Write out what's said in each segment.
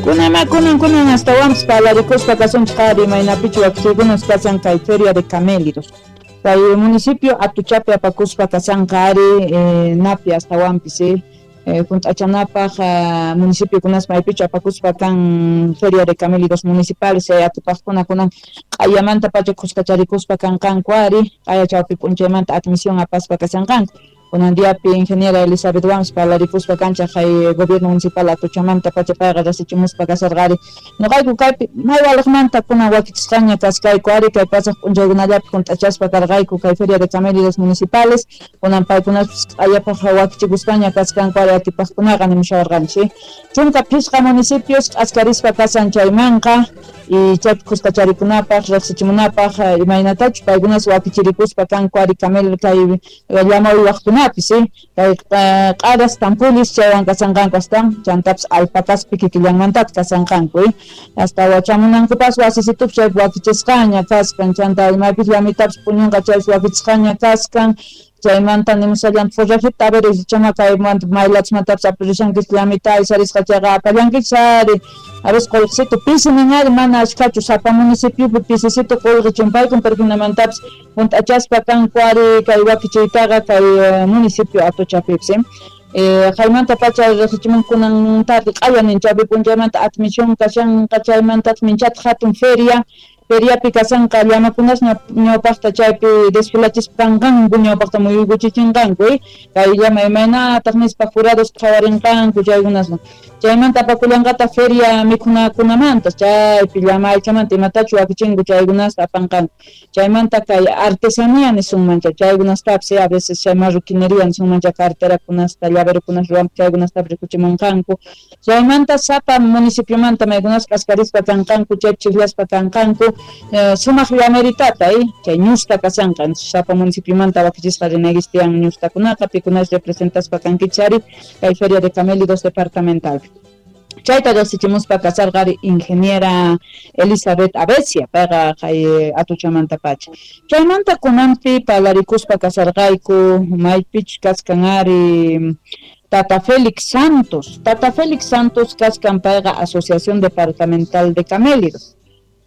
Kunama kunan kunan astawanpis parlarikuspa kasunchik ari imaynapichu wakichiykunas kasan kay feria de camélidos. Kay municipio Atuchapi apakuspa kasanqa ari napi astawanpis hunt'achanapaq municipiokunas maypichu apakuspa kan feria de camélidos municipales atipaqkuna kunan q'ayamanta pacha khuskacharikuspa kanqanku ari q'aya chawpi p'unchaymanta admisión apaspa kashanqanku. Kunan diapi ingeniera Elizabeth Wams parlarikuspa kanchaq kay gobierno municipal Atuchamanta pacha payqa rasichimuspa kasarqari. Nuqayku kaypi may waliqmanta kunan wakichisqaña kaskayku ari kay pasaq p'unchaykunallapi hunt'achaspa karqayku kay feria de camélidos municipales kunan paykunaspis q'ayapaq wakichikuspaña kaskanku ari atipaqkunaqa nimushawarqanchik. 15 municipios k'askarispa kasan chaymanqa y chaypi khuskacharikunapaq riqsichimunapaq imaynatachu paykunas wakichirikuspa kanku ari camel kay llama uywaqkunapis kay q'aras tampulis chaywan kasanqanku astan chantapis alpacaspi kikillanmantataq kasanqanku hasta wachamunankupas wasisitupi chaypi wakichisqaña kaskan chanta imaypis llamitapis puñunqa chaypis wakichisqaña kaskan chaymanta nimusallanta forrajita a ver chama kaymanta maylachmantapas aparishankichik llamita aysarisqa chayqa apallankichik ari a veces qullqisito pisi nin mana ashkhachu sapa municipiopi pisisito qullqi chimpaykun pero hinamantapis hunt'achaspa kanku ari kay wakichiytaqa kay municipio Atuchapipis Qaymanta pacha riqsichimun kunan tarde q'aya nin chawpi p'unchaymanta admisión kashanqa chaymantataq minchataq hatun feria feriapi kasanqa llamakunas ñawpaqta chaypi desfilachispa kanqanku ñawpaqta muyuykuchichinqanku kay llama imaynataq nispa jurados qhawarinqanku chaykunaswan chaymanta apakullanqataq feria mikhunakunamanta chaypi llama aychamanta imatachu wakichinku chaykunasta apanqanku chaymanta kay artesanía nisunmancha chaykunastapis a veces chay marroquinería nisunmancha carterakunasta llaverokunas ruwanku chaykunastapis rikuchimunqanku chaymanta sapa municipiomanta maykunas k'askarispa kanqanku chaypi chiqllaspa kanqanku sumaq llameritata chay ñusta kasanqa sapa municipiomanta wakichisqa rinaykichik tiyan ñustakunaqa pikunas representaspa kankichik ari kay feria de camélidos departamental. Chayta riqsichimuspa kasarqa ari ingeniera Elizabeth Abecia payqa kay Atuchamanta pacha. Chaymanta kunanpi parlarikuspa kasarqayku maypichus kaskan ari Tata Félix Santos. Tata Félix Santos kaskan payqa Asociación Departamental de Camélidos.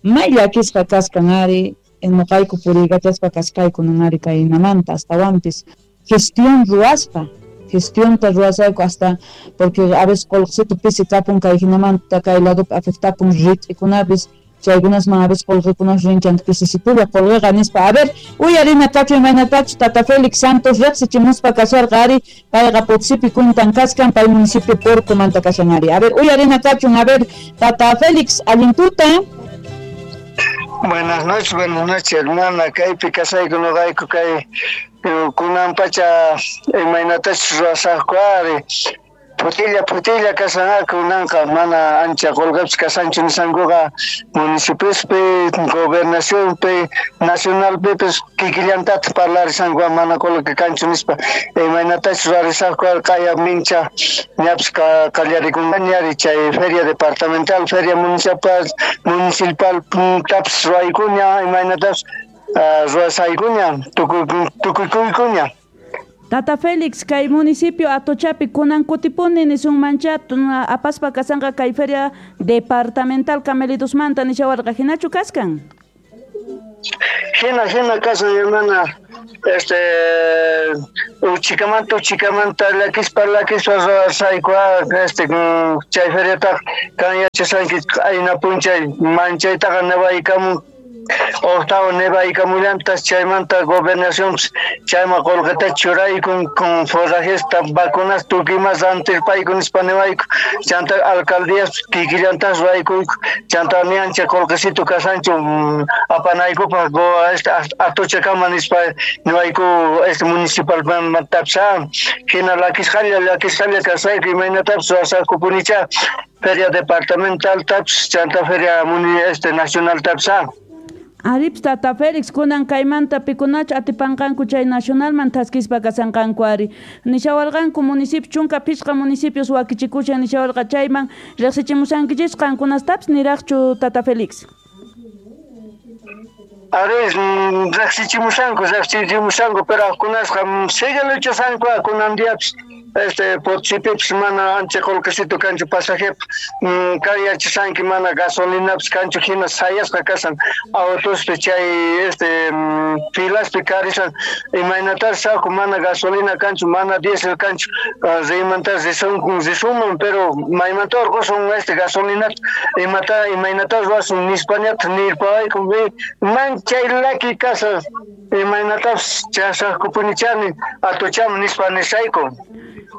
May llakisqa kaskan ari nuqayku puriykachaspa kaskayku nun ari kaynamanta astawanpis gestión ruwaspa gestionta ruwasayku hasta porque a veces qullqisito pisi kapun kay hinamanta kay ladopi afectapun rit'ikunapis chaykunasman a veces qullqikunas rin chanta pisisitulla qullqiqa nispa a ver uyarina kachu imaynatachu Tata Félix Santos riqsichimuspa kasharqa ari payqa Potosipi cuentan kaskan pay municipio Porcomanta kashan ari a ver uyarina kachun a ver Tata Félix allin tuta. Buenas noches, hermana. Kaypi kasayku nuqayku kay kunan pacha imaynatachus ruwasaqku ari phutilla phutilla kasanqa kunanqa mana ancha qullqipis kasanchu nisankuqa municipiospi gobernacionpi nacionalpipis kikillantataq parlarisanku mana qullqi kanchu nispa imaynatachus ruwarisaqku ari q'aya mincha ñapis qallarikunqaña ari chay feria departamental feria municipal tapis ruwaykuña imaynatapis ruwasaykuña tukukuykuña. Tata Félix, kay municipio Atochapi kunan kutipuni nisunmancha apaspa kasanqa kay feria departamental camelidosmanta nishawarqa hinachu kaskan? Hina kasan hermana, uchikamanta llakispa ruwasayku chay feriataqa kan yachasanki qayna p'unchay manchaytaqa nebaykamun octavo nebaykamullantas chaymanta gobernación chayman qullqita churaykun con forrajista vacunas tukuy imas rantirpayku nispa niwayku chanta alcaldías kikillantas ruwaykuyku chanta ni ancha qullqisito kasanchu apanaykupaq Atuchakama nispa niwayku municipalmantapis hina llakisqalla kasayku imaynatapis ruwasaqkupunicha feria departamental tapis chanta feria nacional tapis. Arips Tata Félix kunan kaymanta pikunachu atipanqanku chay nacionalman thaskispa kasanqanku ari nishawarqanku municipio 15 municipios wakichikushan nishawarqa chayman riqsichimusankichis qankunastapis niraqchu Tata Félix. Ari riqsichimusanku pero kunasqa sigue luchasanku kunan diapis Este Potosipipis mana ancha qullqisitu kanchu pasajep kan yachasanki mana gasolinapis kanchu hina sayasqa kasan autospi chay este filaspi karisan imaynatas saku mana gasolina kanchu mana diésel kanchu riymanta risunman pero maymanta urqusun este gasolinata imata imaynata ruwasun nispañata nirpawayku manchay laki kasa imaynatapis chasaqkupunichani atuchaman nispa nisayku.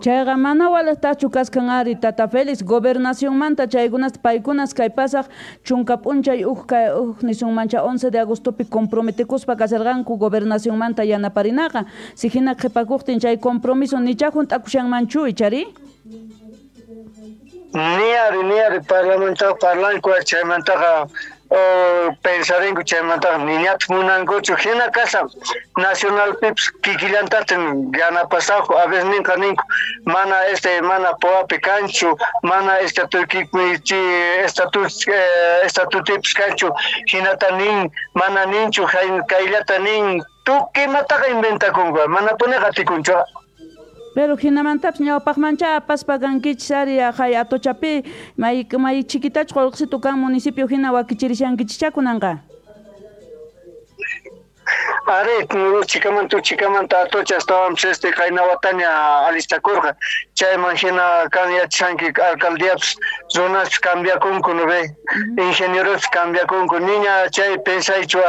Chayqa mana walaqtachu kaskan ari Tata Félix gobernacionmanta chaykunasta paykunas kay pasaq chunka p'unchay uj nisunmancha 11 de agostopi comprometikuspa kasarqanku gobernacionmanta yanaparinaqa si hina qhipakuqtin chay compromiso nicha hunt'akushanmanchu ichari? Ni ari parlamentaqa parlanku chaymantaqa pensarinku chaymantaqa niñataq munankuchu hina kashan nacionalpipis kikillantataq yanapasaqku a veces ninqa ninku mana este mana POApi kanchu mana estatutipis kanchu hinata nin mana ninchu kayllata nin tukuy imataqa inventakunku manapuni qatikunchu. Pero hinamantapis ñawpaqmancha apaspa kankichis ari hay Atochapi may chiquitachu qullqisitu kan municipio hina wakichirishankichischá kunanqa. Ari uchikamanta Atocha astawanpis este qayna wataña alistakurqa chayman hina kan yachashanki alcaldiapis runaspis cambiakunku no ve ingenierospis cambiakunku niña chay pensaychu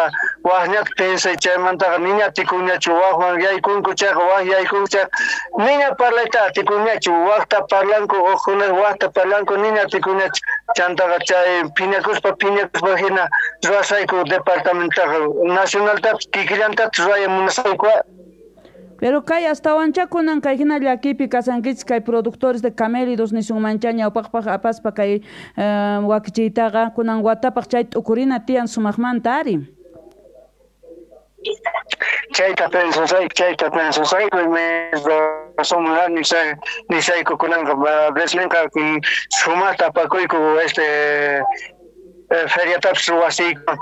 waqñata pensay chaymantaqa niña atikunñachu waqwan yaykunku chayqa waq yaykunku chayqa niña parlayta atikunñachu waqta parlanku uqkuna waqta parlanku niña atikunñachu chantaqa chay phiñakuspa hina ruwasayku departamentaqa nacionaltapis kikillantapis ruwaya munasayku. Pero kay astawancha kunan kay hina llakipi kasankichis kay productores de camélidos nisunmancha ñawpaqpaq apaspa kay wakichiytaqa kunan watapaq chay t'ukurina tiyan sumaqmanta ari. Chayta pensasayku nisayku kunanqa veces ninqa sumaqta apakuyku este feriatapis wasiyku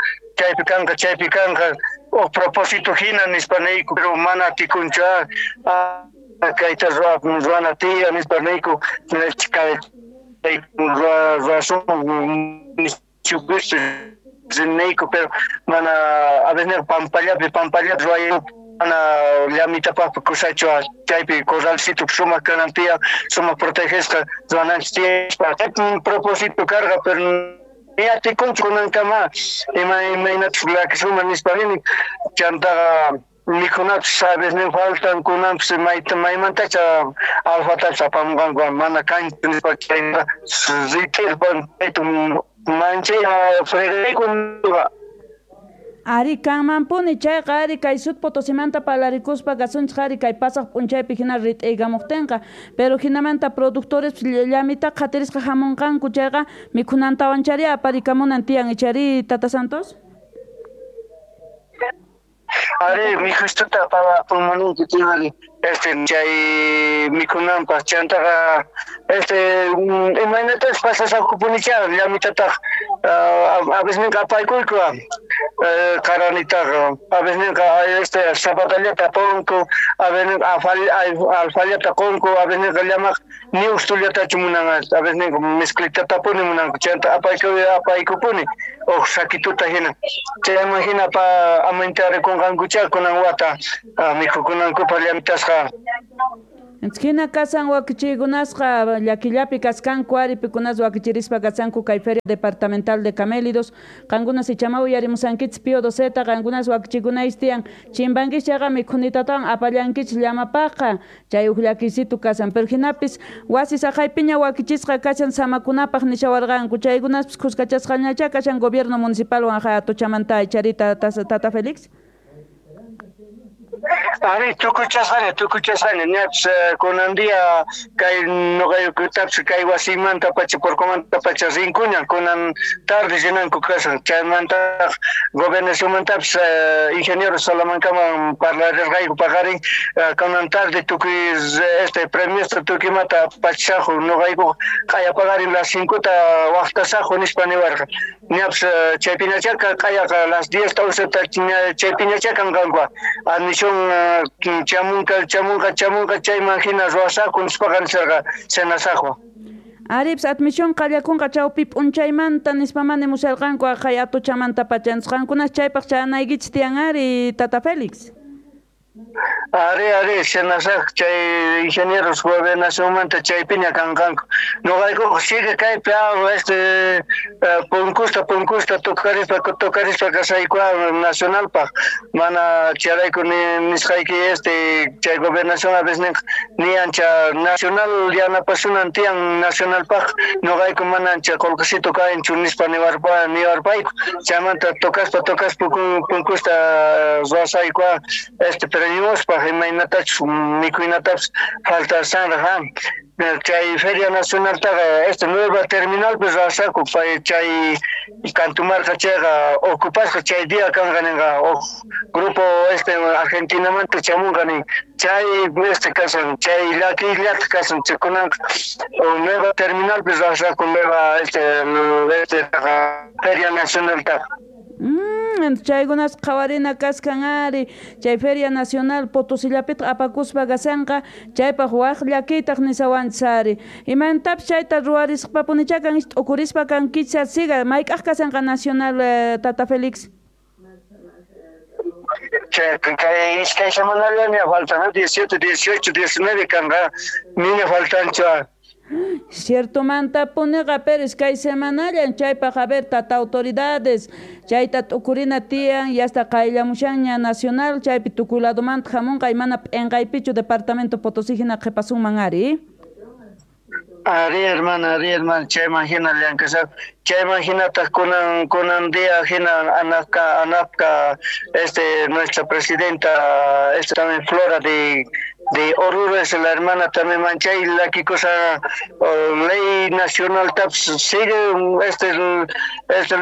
chaypi kanqa o propósito hina nispa niyku pero mana atikunchu kayta ruwana tiyan nispa niyku ruwasun niyku pero mana a veces pampallapi ruwayku mana llamitapaqpi kusachu chaypi corralcito sumaq kanan tiyan sumaq protegesqa ruwananchis tiyan propósito karqa pero ni atikunchu kunankama imaynatas lakisuman nispa rini chantaqa mikhunapis a veces nin faltan kunanpis maymantacha alfatapis apamunqanku mana kanchu nispa chayta rit'irpan manchay fregayku. Ari kanmanpuni chayqa ari kay Sud Potosimanta parlarikuspa kasunchik ari kay pasaq p'unchaypi hina rit'iykamuqtinqa pero hinamanta productores llamita qhatirisqa hamunqanku chayqa mikhunantawanchari aparikamunan tiyan ichari Tata Santos? Ari mikhustuta apamunanku tiyan este chay mikhunanpaq chantaqa este imaynatas pasasaqkupunicha llamitataq a veces ninqa apaykuyku qaranitaqa a veces ninqa este zapatallata apanku a veces ninqa alfallata qunku a veces ninqa llamaq ni ustullatachu munan a veces ninqa mezclitatapuni munanku chanta apaykupuni uq sakituta hina chayman hina amantarikunqankucha kunan wata mikhukunankupaq llamitasqa. Hina kasan wakichiykunasqa llakillapi kaskanku ari pikunas wakichirispa kasanku kay Feria Departamental de Camélidos qankunas ichama uyarimusankichis Pío XII qankunas wakichikunayis tiyan chimpankichis chayqa mikhunitatawan apallankichis llamapaqqa chay uq llakisitu kasan pero hinapis wasi saqaypiña wakichisqa kashan samakunapaq nishawarqanku chaykunaspis khuskachasqañachá kashan gobierno municipalwan Atochamanta icharita Tata Félix. Ari tukuchasqaña ñapis kunan día kay nuqaykutapis kay wasimanta pacha porcomanta pacha rinkuña kunan tarde rinanku kasan chaymantaq gobernacionmantapis ingeniero Salamancaman parlarirqayku paqarin kunan tarde tukuy este premiosta tukuymata pachasaqu nuqayku q'aya paqarin las 5ta waqtasaqu nispa niwarqa ñapis chaypinachaqa q'ayaqa las 10 ta 11ta chaypinacha kanqanku admisión Chamunqa chayman hina ruwasaqku nispaqa nisarqa senasaqwan. Arips admisión qallakunqa chawpi p'unchaymanta nispamani musarqanku aqhay Atuchamanta pacha. Qankunas chaypaq chayanaykichis tiyan ari, Tata Félix. Ari, senasaq chay ingenieros gobernacionmanta chaypiña kanqanku. Noqaykuqa sigue kaypi punkusta tocarispa kasayku nacionalpaq. Mana charayku nisqayki chay gobernación a veces ni ancha nacional yanapasunan tiyan nacionalpaq noqayku mana ancha qolqesito kaynchu nispa niwarpayku. Chaymanta tocaspa punkusta ruwasayku pero ñuspaq imaynatachus mikhuynatapis faltasanraq chay Feria Nacionaltaqa nueva terminalpi ruwasaqku pay chay Cantumarca chayqa ocupasqa chay día kanqa ninqa grupo Argentinamanta chamunqa nin chay kasan chay llakiyllata kasan chaykunanqa nueva terminalpi ruwasaqku nueva Feria Nacionaltaqa. Chaykunas qhawarina kaskan ari chay Feria Nacional Potosillapitaq apakuspa kasanqa chaypaq waq llakiytaq nisawanchis ari imantapis chayta ruwarisqapunicha kan t'ukurispa kankichis siga mayk'aq kasanqa Nacional Tata Félix. Kay iskay semanallaña faltan 17, 18, 19 kanqa niña faltanchu. Cierto mantapuniqa pero iskay semanallan chaypaq a ver tata autoridades chayta t'ukurina tiyan y hasta qayllamushanña nacional chaypi tukuy ladomanta hamunqa mana p'enqaypichu departamento Potosí hina qhipasunman ari. Ari hermana, chayman hina llank'asaq chayman hinataq kunan día hina anapka nuestra presidenta también Flora de Oruro es la hermana también manchay la que cosa ley nacional taps sigue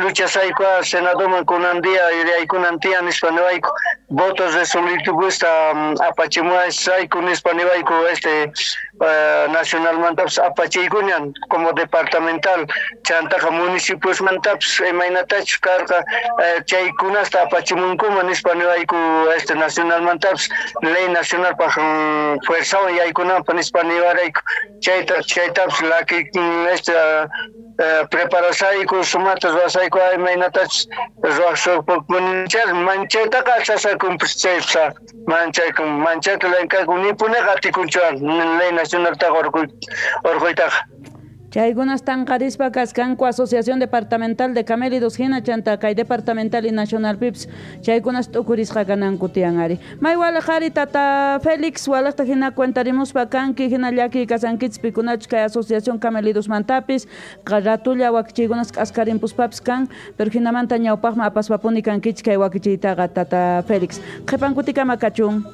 lucha saykua senadoman kunan día yaykunan tiyan nispa niwayku votos resolutivos apachimuay sayku nispa niwayku nacionalmantapis apachiykuñan como departamental chantaqa municipiosmantapis imaynatachus karqa chaykunasta apachimunkuman nispa niwayku nacionalmantapis ley nacionalpaq fuerzawan yaykunanpaq nispa niwarayku chaytapis laki preparasayku sumata ruwasayku imaynatachus ruwaqsuqpunichar manchaytaqa sasakunpis chaypis manchayta llank'ayku nipuniqa atikunchu ley nacionaltaqa urquytaqa. Chaykunas tanqarispa kaskanku Asociación Departamental de Camélidos hina chanta kay departamental y nacional pips chaykunas t'ukurisqa kananku tiyan ari. May walaq ari Tata Félix walaqta hina cuentarimuspa kanki hina llakiy kasankichis pikunachus kay Asociación Camélidos mantapis ratulla wakichiykunas k'askarimpuspapis kan pero hinamanta ñawpaqman apaspapuni kankichis kay wakichiytaqa Tata Félix. Qhipankutikama kachun.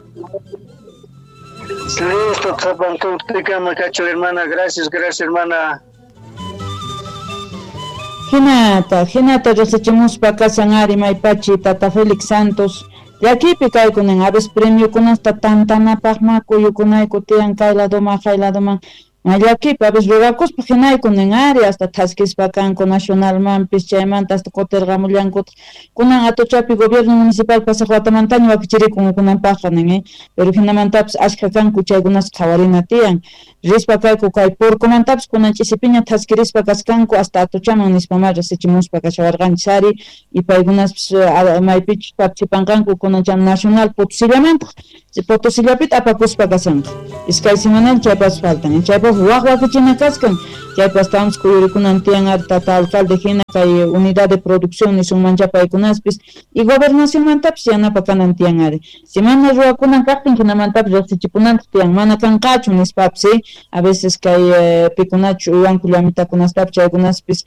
Listo, qhipankutikama kachun hermana, gracias hermana. Hinata riqsichimuspa kasan ari maypachi Tata Félix Santos llakipi kaykunan a veces premiokunasta tantanapaqma kuyukunayku tiyan kay ladoman kay ladoman llakipi a veces ruwakuspa hinaykunan ari hasta thaskispa kanku nacionalmanpis chaymanta hasta kutirqamullankutaq kunan Atuchapi gobierno municipal pasaq watamantaña wakichirikun kunanpaqqa nin pero hinamantapis ashkha kanku chaykunas qhawarina tiyan rispa kayku kay purkumantapis kunan ch'isipiña thaskirispa kaskanku hasta Atuchaman nispamá riqsichimuspa kashawarqanchis ari y paykunaspis maypichus participanqanku kunan chay nacional Potosillamantaj Potosillapita apakuspa kasanqa iskay semanal chaypas faltan chaypas waq wakichina kaskan chaypas estamos kuyurikunan tiyan ari tata alcalde hina kay unidad de producción nisunmancha paykunaspis y gobernacionmantapis yanapa kanan tiyan ari si mana ruwakunan kaqtin hinamantapis riqsichipunantaq tiyan mana kanqachu nispapis a veces kay pikunachu uywanku llamitakunastapis chaykunaspis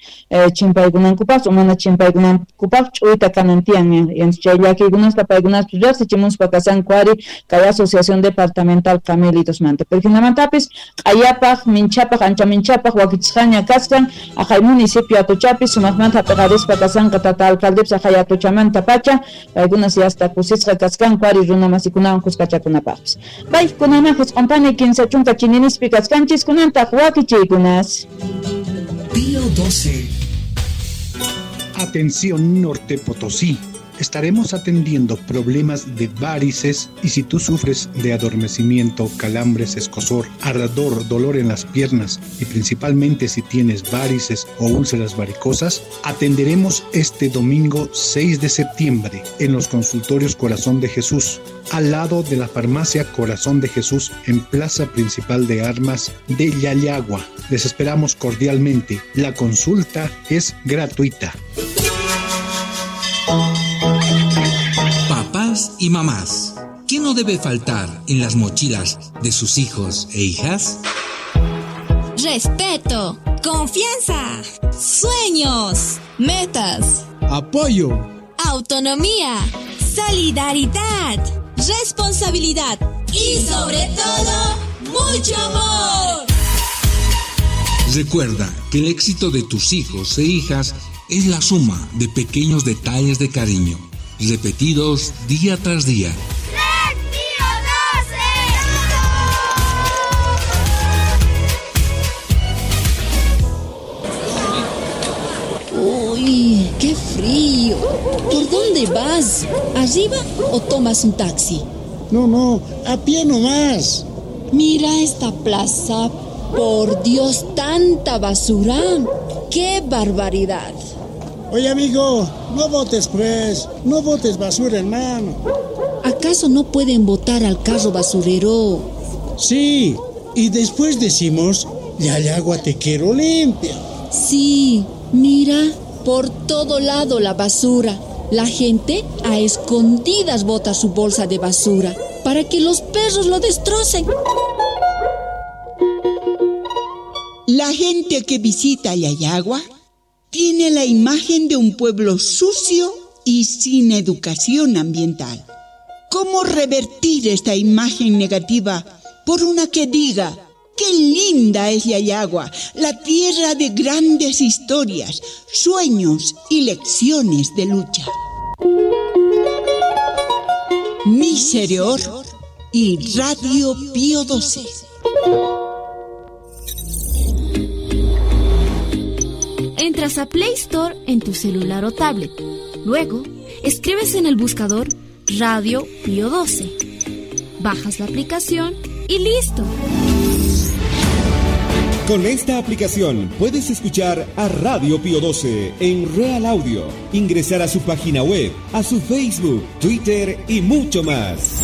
chimpaykunankupaqchu mana chimpaykunankupaq ch'uyta kanan tiyan chay llakiykunasta paykunaspis riqsichimuspa kasanku ari kay Asociación Departamental Camélidos manta pero hinamantapis q'ayapaq minchapaq ancha minchapaq wakichisqaña kaskan aqhay municipio Atuchapi sumaqmanta hap'iqarispa kasanqa tata alcaldepis aqhay Atuchamanta pacha paykunas hasta kusisqa kaskanku ari runa masikunawan kuskachakunapaqpis paykunaman jisq'unpani 15 chininispi kaskanchis kunantaq wakichiykunas. Día 12. Atención Norte Potosí. Estaremos atendiendo problemas de varices y si tú sufres de adormecimiento, calambres, escozor, ardor, dolor en las piernas y principalmente si tienes varices o úlceras varicosas, atenderemos este domingo 6 de septiembre en los consultorios Corazón de Jesús, al lado de la farmacia Corazón de Jesús en Plaza Principal de Armas de Llallagua. Les esperamos cordialmente. La consulta es gratuita. Papás y mamás, ¿qué no debe faltar en las mochilas de sus hijos e hijas? Respeto, confianza, sueños, metas, apoyo, autonomía, solidaridad, responsabilidad y sobre todo, mucho amor. Recuerda que el éxito de tus hijos e hijas es la suma de pequeños detalles de cariño, repetidos día tras día. ¡Red Pío 12! ¡Uy, qué frío! ¿Por dónde vas? ¿Arriba o tomas un taxi? No, a pie nomás. Mira esta plaza. Por Dios, tanta basura. ¡Qué barbaridad! Oye, amigo, no botes pues, no botes basura, hermano. ¿Acaso no pueden botar al carro basurero? Sí, y después decimos, Llallagua te quiero limpia. Sí, mira, por todo lado la basura. La gente a escondidas bota su bolsa de basura para que los perros lo destrocen. La gente que visita Llallagua tiene la imagen de un pueblo sucio y sin educación ambiental. ¿Cómo revertir esta imagen negativa por una que diga: qué linda es Llallagua, la tierra de grandes historias, sueños y lecciones de lucha? Misereor y Radio Pío XII. Entras a Play Store en tu celular o tablet. Luego, escribes en el buscador Radio Pío XII. Bajas la aplicación y listo. Con esta aplicación puedes escuchar a Radio Pío XII en Real Audio, ingresar a su página web, a su Facebook, Twitter y mucho más.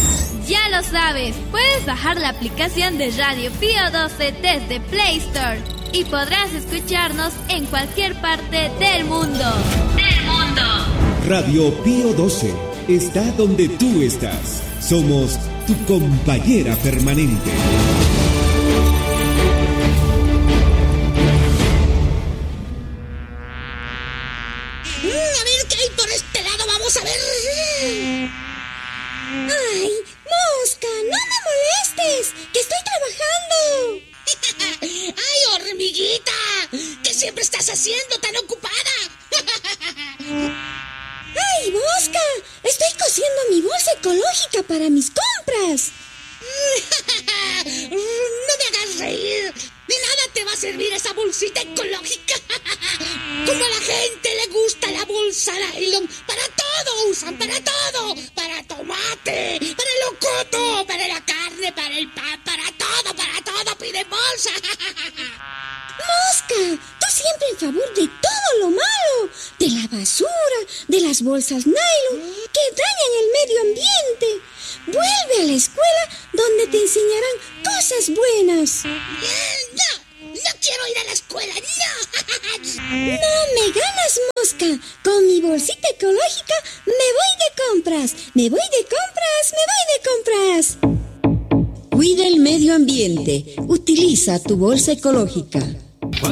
Ya lo sabes, puedes bajar la aplicación de Radio Pío XII desde Play Store y podrás escucharnos en cualquier parte del mundo. ¡Del mundo! Radio Pío XII está donde tú estás. Somos tu compañera permanente. A ver qué hay por este lado, vamos a ver. ¡Ay, mosca! ¡No me molestes! ¡Que estoy trabajando! ¡Ay, hormiguita! ¿Qué siempre estás haciendo tan ocupada? ¡Ay, mosca! Estoy cosiendo mi bolsa ecológica para mis compras. ¡No me hagas reír! De nada te va a servir esa bolsita ecológica. Como a la gente le gusta la bolsa nylon, para todo usan, para todo. Para tomate, para el locoto, para la carne, para el pan, para todo piden bolsa. Mosca, tú siempre en favor de todo lo malo, de la basura, de las bolsas nylon que dañan el medio ambiente. Vuelve a la escuela donde te enseñarán cosas buenas. ¡No! ¡No quiero ir a la escuela! ¡No! ¡No me ganas, mosca! Con mi bolsita ecológica me voy de compras. ¡Me voy de compras! ¡Me voy de compras! Cuida el medio ambiente. Utiliza tu bolsa ecológica.